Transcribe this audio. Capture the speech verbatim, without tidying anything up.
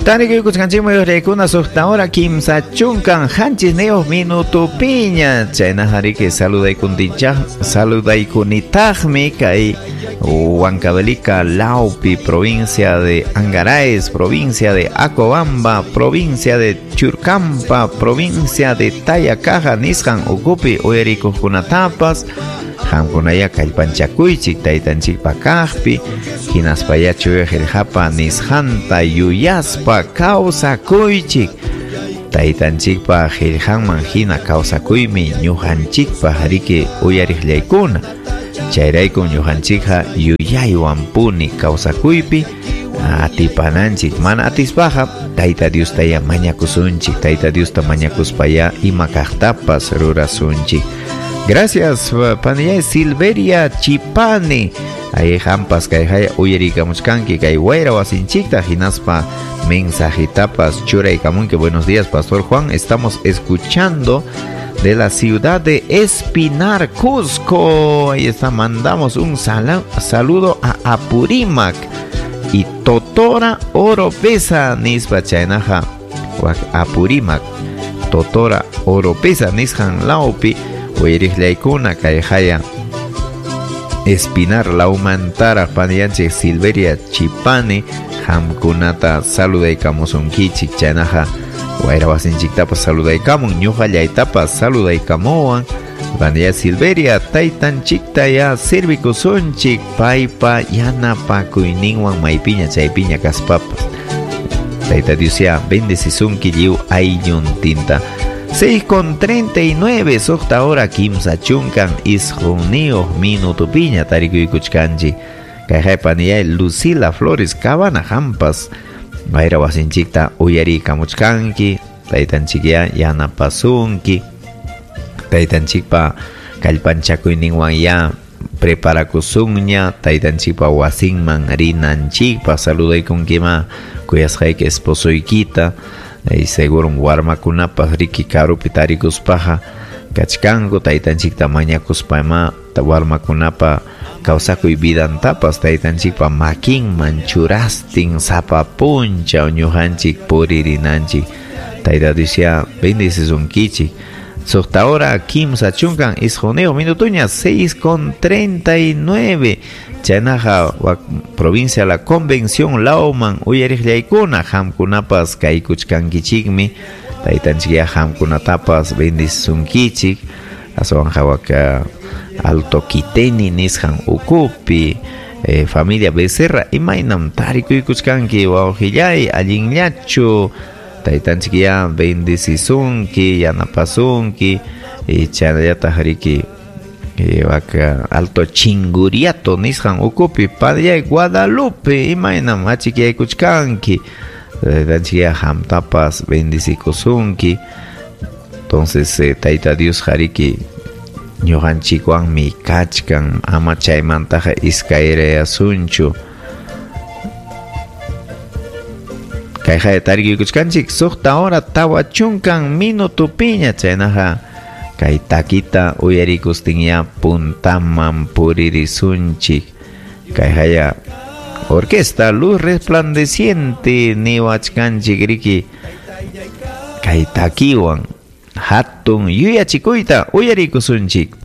Tarikuykuchkanchikmi uyariykuna suqta hora kimsa chunkan qanchisniyuq minutupiña. Chaynaqa riki saludaykuntinchaq saludaykunitaqmi kay Huancavelica, Laupi, provincia de Angaraes, provincia de Acobamba, provincia de Churcampa, provincia de Tayacaja, nisqan ukupi uyarikuqkunatapas. Qamkunaya kallpanchakuychik taytanchikpa kaqpi, hinaspaya chuya qillqapa nisqanta yuyaspa kawsakuychik. Taytanchikpa qillqanman hina kawsakuymi ñuqanchikpaq riki uyariqllaykuna. Chayraykum ñuqanchikqa yuyaywan puni kawsakuypi atipananchik. Mana atispaqa Tayta Diostaya mañakusunchik, Tayta Diosta mañakuspaya ima kaqtapas rurasunchik. Gracias, panillay Silveria Chipani. Ahí hampas kay haya uyarikamuchkanki kay wayra wasinchikta hinaspa mensajitapas churaykamunki. Buenos días, Pastor Juan. Estamos escuchando de la ciudad de Espinar, Cusco. Ahí está, mandamos un sal saludo a Apurímac y Totora Oropesa nispa chaynaqa Apurímac Totora Oropesa nisqan lawpi uyariqllaykuna kay haya Espinar lawmantara paniyanchik Silveria Chipani qamkunata saludaykamusunkichik. Chaynaqa wayra wasinchiktapas saludaykamun, ñuqallaytapas saludaykamuwan. Paniya Silveria taytanchikta ya sirvikusunchik paypa yanapakuyninwan maypiña chaypiña kaspapas. Tayta Dios ya bendecisunki lliw aylluntinta. seis con treinta y nueve, suqta hora kimsa chunkan isqunniyuq minutupiña tarikuykuchkanchik. Kay paniyay Lucila Flores Cabana hampas wayra wasinchikta uyariykamuchkanki. Taytanchik ya yanapasunki. Taytanchikpa kallpanchakuyninwan ya preparakusunña taytanchikpa wasinman rinanchikpa. Saludaykunkima kuyasqayki esposoykita. Y seguro warmakunapas riki karupi tarikuspaqa kachkanku taytanchikta mañakuspama warmakunapa kawsakuy vidantapas taytanchikpa makinman churastin sapa punchaw ñuqanchik puririnanchik. Tayta Dios ya bendecisunkichik. Suqta hora kimsa chunkan isqunniyuq minutuña, seis con treinta y nueve. Chaynaqa provincia La Convención lawman uyariqllaykuna qamkunapas kaykuchkankichikmi. Taytanchik ya qamkunatapas bendecisunkichik. Aswanqa waka Alto Quiteni nisqan ukupi eh, familia Becerra imaynam tarikuykuchkanki wawqillay allinllachu. Taytanchik ya bendecisunki yanapasunki. Y chaynallataq riki waka Alto Chinguriato nisqan ukupi padillay Guadalupe imaynam achikyaykuchkanki. Taytanchik ya qamtapas bendecikusunki. Entonces eh, Tayta Dios hariki ñuqanchikwanmi kachkan ama chaymantaqa iskayrayasunchu. Kayqa tarikuykuchkanchik suqta hora tawa chunkan minutupiña. Chaynaqa kay takita uyarikustin ya puntaman puririsunchik. Kay haya orquesta Luz Resplandeciente niwachkanchik riki kay takiwan hatun yuyachikuyta uyarikusunchik.